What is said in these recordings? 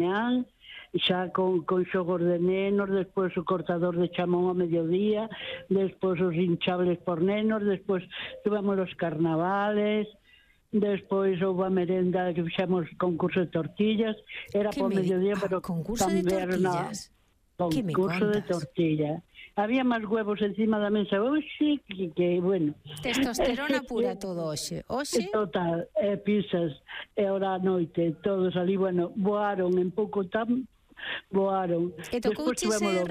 mañán, xa con xogos de nenos, despois o cortador de chamón ao mediodía, despois os hinchables por nenos, despois tuvemos os carnavales, despois houve a merenda que fixemos concurso de tortillas, era por mediodía, pero concurso de tortillas. Concurso de tortilla. Había máis huevos encima da mesa hoxe que bueno. Testosterona pura todo hoxe. Total, pizzas, e ora a noite, todos ali, bueno, voaron en pouco tempo. Voaron. E tocouche ser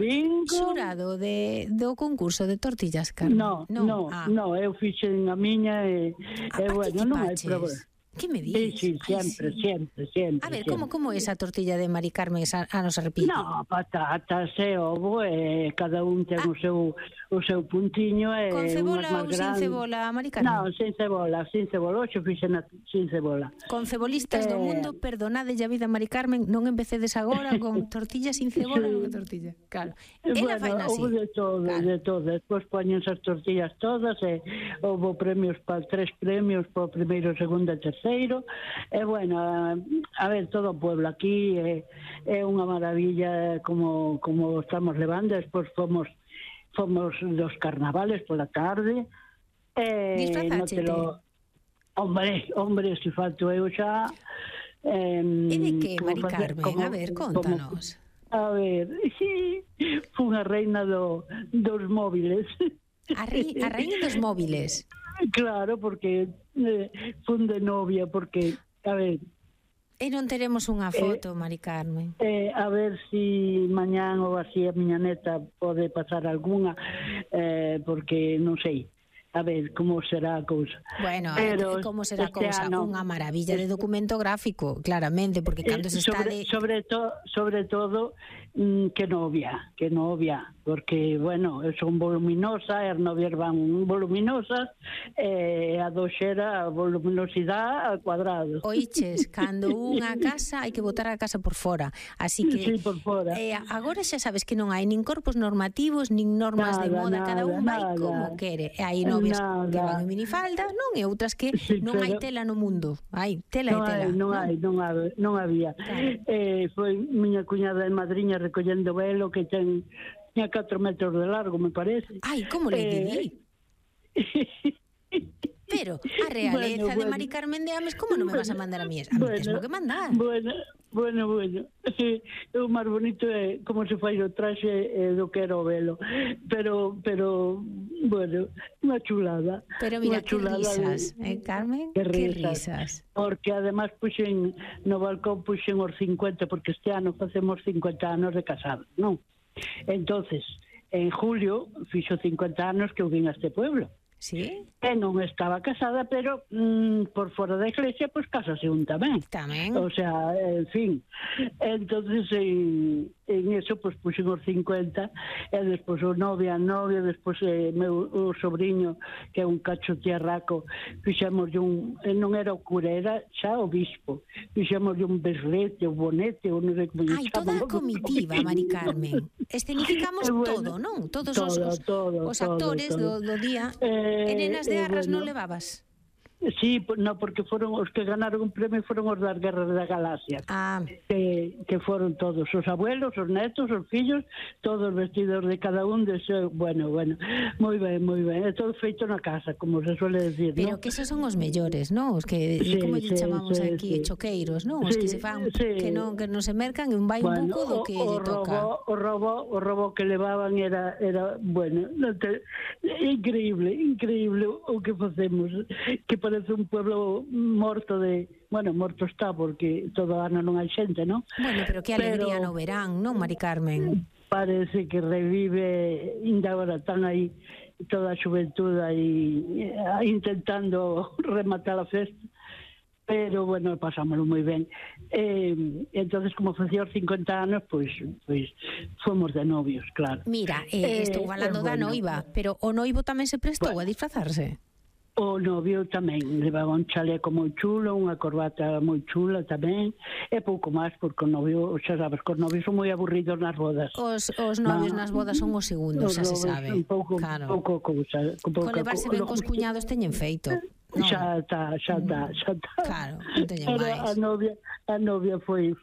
xurado do concurso de tortillas, Carmen? No, eu fixen a miña e bueno, non hai problema. Que me dices? Sí, sempre. A ver, como é esa tortilla de Mari Carmen a nos repite? No, patatas e ovo, cada un ten o seu puntiño. Con cebola ou sin cebola, Mari Carmen? No, sin cebola, hoxe fixen sin cebola. Con cebolistas do mundo, perdonade a vida, Mari Carmen, non empecedes agora con tortilla sin cebola, non é tortilla. Claro. Ela faina así. Houve de todo. Despois poñense as tortillas todas, e houve premios para 3 premios, para o primeiro, segundo e terceiro. E bueno, a ver, todo o pueblo aquí é unha maravilla como estamos levando. Despois fomos dos carnavales pola tarde. Disfrazáchete? Hombre, se falto eu xa. E de que, Mari Carmen? A ver, contanos. A ver, sí, fui unha reina dos móviles. A reina dos móviles? Claro, porque fun de novia, porque, a ver... E non teremos unha foto, Mari Carmen? A ver si mañán ou así a miña neta pode pasar algunha, porque non sei. A ver, como será a cousa. Bueno, como será a cousa? Unha maravilla de documento gráfico, claramente, porque cando se está sobre todo, que novia, porque, bueno, son voluminosa, as novias van voluminosas, a doxera a voluminosidade al cuadrado. Oiches, cando unha casa hai que botar a casa por fora, así que... Sí, por fora. Agora xa sabes que non hai nin corpos normativos, nin normas de moda, cada un vai como quere. E hai novias que van en minifalda, non, e outras que non hai tela no mundo. Hai tela e tela. Non había. Foi miña cuñada de madriña recollendo velo que tiña 4 metros de largo, me parece. Ai, como le di? Pero a realeza de Mari Carmen de Ames, como non me vas a mandar a mí? A mí tesmo que mandar. Bueno. O máis bonito é como se fai o traxe do que era o velo. Pero bueno, unha chulada. Pero mira, que risas, Carmen? Que risas. Porque además puxen no balcón os 50, porque este ano facemos 50 anos de casados, non? Entonces, en julio fixo 50 anos que eu vim a este pueblo. Sí? E non estaba casada, pero por fora da iglesia, pois casase un tamén. O sea, en fin. Entonces, en eso, pois puxen os 50, e despois o novia, despois o sobrinho, que é un cacho tiarraco, fixemos non era o cura, era xa o bispo. Fixemos un beslete, o bonete, o non sei como chaman. Ai, toda a comitiva, Mari Carmen. Escenificamos todo, non? Todos os actores do día. E nenas de arras non levabas? Sí, no, porque foron os que ganaron un premio, foron os das Guerras da Galaxia. Que foron todos, os abuelos, os netos, os fillos, todos vestidos de cada un de seu. Bueno, moi ben. É todo feito na casa, como se suele decir, pero ¿no? Que esos son os mellores, non? Os que, como lle chamamos aquí, choqueiros, non? Os que se fan, que non se mercan, e un vai un pouco do que lle toca. O robo que levaban era bueno, increíble o que facemos, que parece un pueblo morto morto está, porque todo ano non hai xente, non? Bueno, pero que alegría no verán, non, Mari Carmen? Parece que revive, ainda agora están aí toda a xuventude aí intentando rematar a festa, pero bueno, pasámoslo moi ben. Entonces, como facía os 50 anos, pois fomos de novios, claro. Mira, estou falando da noiva, pero o noivo tamén se prestou a disfrazarse? O novio tamén levaba un chaleco moi chulo, unha corbata moi chula tamén, e pouco máis, porque o novio, xa sabes, que os novios son moi aburridos nas bodas. Os novios nas bodas son os segundos, xa se sabe. Pouco cousa. Con levarse ben cos cuñados teñen feito. Xa está. Claro, non teñen máis. A novia foi